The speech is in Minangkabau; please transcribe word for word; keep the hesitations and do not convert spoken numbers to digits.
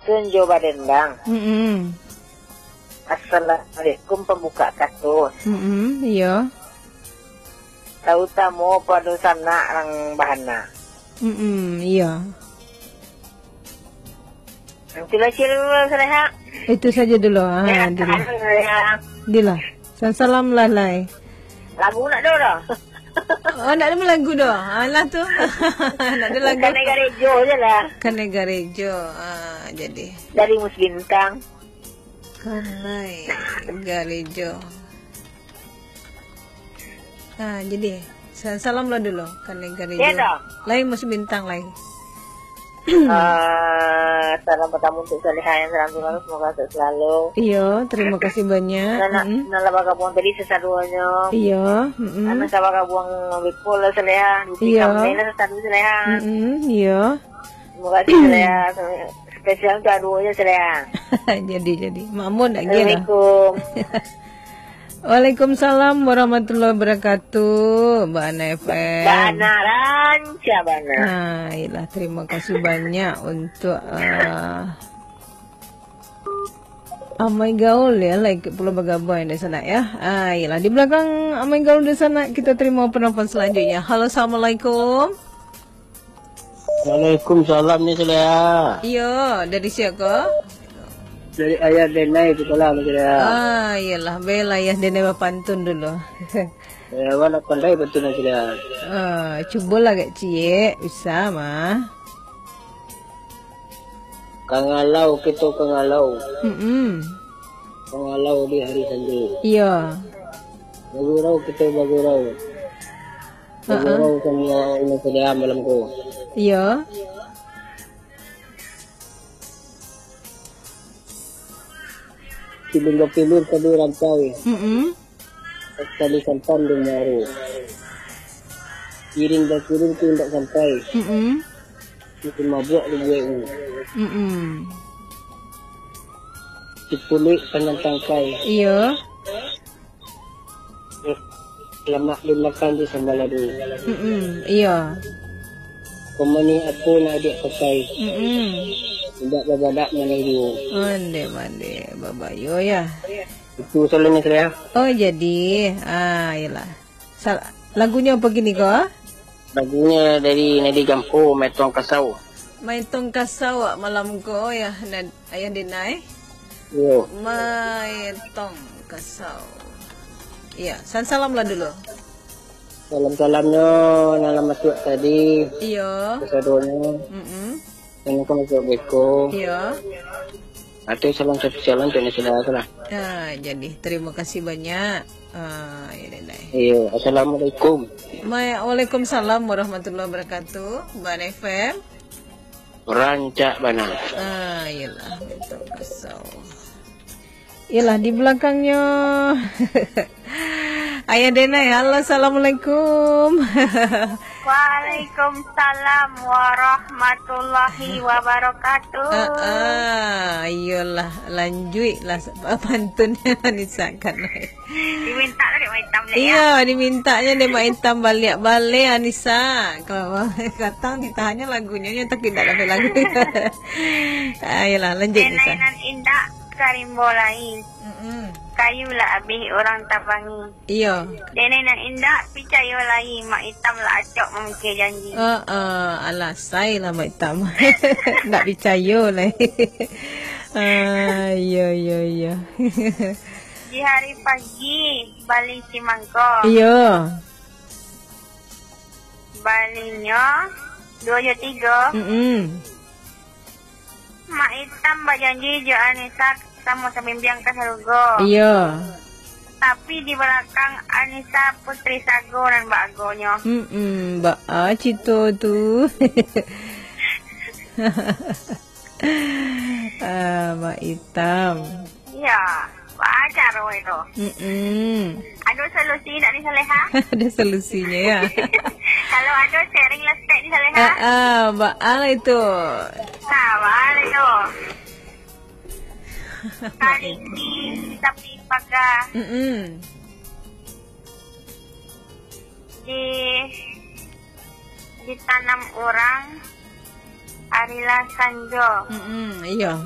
Pantun jo badendang. Mm-mm. Assalamualaikum pambuka kasus. Mm-mm, iyo. Tarutamo pado sanak rang bahana. Mm-mm, iyo. Itulah cil dulu, Saleha. Itu saja dulu. Ah, Sehat dulu. Selalu, Saleha. Dilah. Salam lah, lai. Lagu nak do dah. Oh, nak ada lagu dah. Alah tu. Nak ada lagu. Kanai Garejo je lah. Kanai Garejo. Ah, jadi. Dari Mus Bintang. Kanai Garejo. Ah, jadi. Sa-, salam lah dulu. Kanai Garejo. Ya dah. Lai Mus Bintang lai. Ah, salam pertama untuk Saleha yang salam selalu, semoga sehat selalu. Iyo, terima kasih banyak. Nana, Mm-mm. Nana bagabuang tadi sesaduanyo. Iyo, mm-mm. Nana sabagabuang beko lah Saleha. Duti Iyo. Kami lah sesaduanyo Saleha. Mm-mm, iyo. Terima kasih Saleha. Spesial untuk aduanyo Saleha. Jadi, jadi. Makmun lagi lah. Assalamualaikum. Waalaikumsalam warahmatullahi wabarakatuh, Bana F M. Bana rancak bana. Ah, iyalah, terima kasih banyak untuk, ah, Amai Gaul ya, like pulo bagabung dari sana ya. Ah, iyalah, di belakang Amai Gaul di sana, kita terima penelpon selanjutnya. Halo, assalamualaikum. Waalaikumsalam ni Saleha. Iyo, dari sia ko? Dari Ayah Denai tu lah ni Saleha. Ah, iyalah, bela Ayah Denai bapantun dulu. Eh, awak nak pandai pantun ni Saleha. Ah, cubolah agak ciek, bisa mah. Kangalau kito kangalau. Mm-mm. Kangalau di hari sanjo. Iyo. Bagurau kito bagurau. Ha-ha. Bagurau samo awak Saleha malam ko. Iyo. Silinggo pilir tali rantai. Mm-mm. Tali santan di muaro. Kiring bakiring tu indak sampai. Mm-mm. Itu mabuak di buek ni. Mm-mm. Sipuluik panjang tangkai. Iyo. Lamak dimakan di sambalado. Mm-mm, iyo. Pamanih apo nak diak pakai? Mm-mm. Indak babadak maneh juo. Onde mande babayo ya. Itu salanyo Saleha. Oh, jadi, ah, iyalah. Sal-, lagunyo apo kini ko? Lagunyo dari Nadi Gampo, Maitong Kasau. Maitong Kasau malam ko ya, Nad-, Ayah Denai. Yo. Maitong Kasau. Iya, san-, salam lah dulu. Salam-salamnyo nan lah masuak tadi. Iyo. Kasadonyo. Mm-mm. Nan ka masuak beko. Iyo. Atau salam spesial untuk Nasi Dara tu lah. Ah, jadi, terima kasih banyak. Ah, ya, Denai. Iyo, assalamualaikum. Ma-, waalaikumsalam warahmatullahi wabarakatuh. Bana F M. Rancak bana. Ah, iyalah, Maitong Kasau. Iyalah, di balakangnyo. Ayah Denai, halo, assalamualaikum. Waalaikumsalam warahmatullahi wabarakatuh. Ah, ah, iyalah, lanjuiklah pantunnyo, Anisa kan. Diminta lah dek Mak Itam baliak, ya? Iyo, dimintanyo dek Mak Itam baliak. Baleh, Anisa. Kalau katang ditahannyo lagunyo, nyo tapi indak dapek lagu. Ah, iyolah, lanjuik, Anisa. Denai nan indak ka rimbo lai. Mm-mm. Kayu lah abih urang tabangi. Iyo. Denai nan indak picayo lai, Mak Itam lah acok mamikeh janji. Ah, ah, alah, sai lah Mak Itam. Ndak picayo lai. Ah, iyo, iyo, iyo. Di hari pagi, bali simangko. Iyo. Balinyo duo jo tigo. Mm-mm. Mak Itam bajanji jo Anisa samo sabimbiang ka sarugo. Iyo. Tapi di balakang Anisa putri sago nan baagonyo. Mm-mm, baa cito tu. Ah, Mak Itam. Iyo, baa caro itu? Mm-mm. Ado solusi indak ni, Saleha? Ado solusinyo, ya. Kalau ado, sharing lah saketek ni, Saleha. Ah, ah, baa lah itu. Nah, baa lah itu. Kaliki di tapi paga. Mm-mm. Di, ditanam urang ari lah sanjo. Mm-mm, iyo.